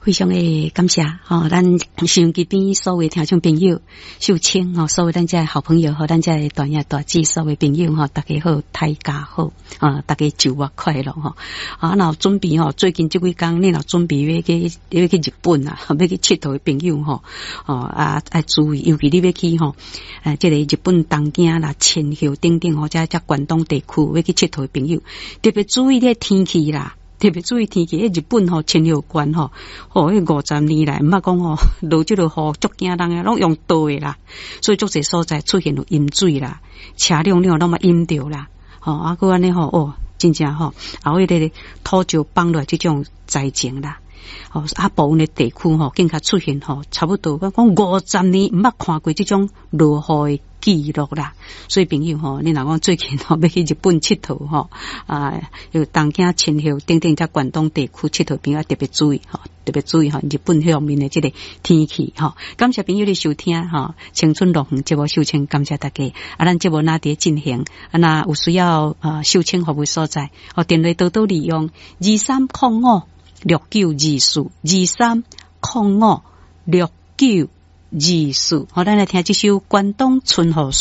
非常的感謝吼，咱收音機邊所有聽眾朋友，秀清吼，所有咱遮的好朋友和咱遮的大兄大姊，所有朋友吼，大家好，大家好，啊，大家周末快樂吼。啊，若準備吼，最近這幾工你若準備欲去日本啊，欲去𨑨迌的朋友吼，哦啊，愛注意，尤其你欲去吼，這个日本東京啦、千葉等等吼，遮遮關東地區欲去𨑨迌的朋友，特別注意這天氣啦。特別注意天氣，彼日本吼千葉縣吼，吼彼50年來，毋捌講吼落這个雨足驚人啊，攏用倒的啦，所以足濟所在出現有淹水啦，車輛了攏嘛淹著啦，吼啊，閣按呢吼哦，真正吼，後彼个土石崩落來這種災情啦，吼啊部分的地區吼，更較出現吼，差不多講50年毋捌看過這種落雨的記錄啦，所以朋友吼，你若講最近吼欲去日本𨑨迌吼，啊，有東京、千葉等等遮關東地區𨑨迌朋友特別注意吼，特別注意吼，日本方面的這個天氣吼。感謝朋友的收聽吼，青春樂園節目秀清感謝大家。啊，咱節目若佇進行，啊，若有需要啊秀清服務所在，哦，電話多多利用23056924，23056924，好，咱來聽這首《關東春雨傘》。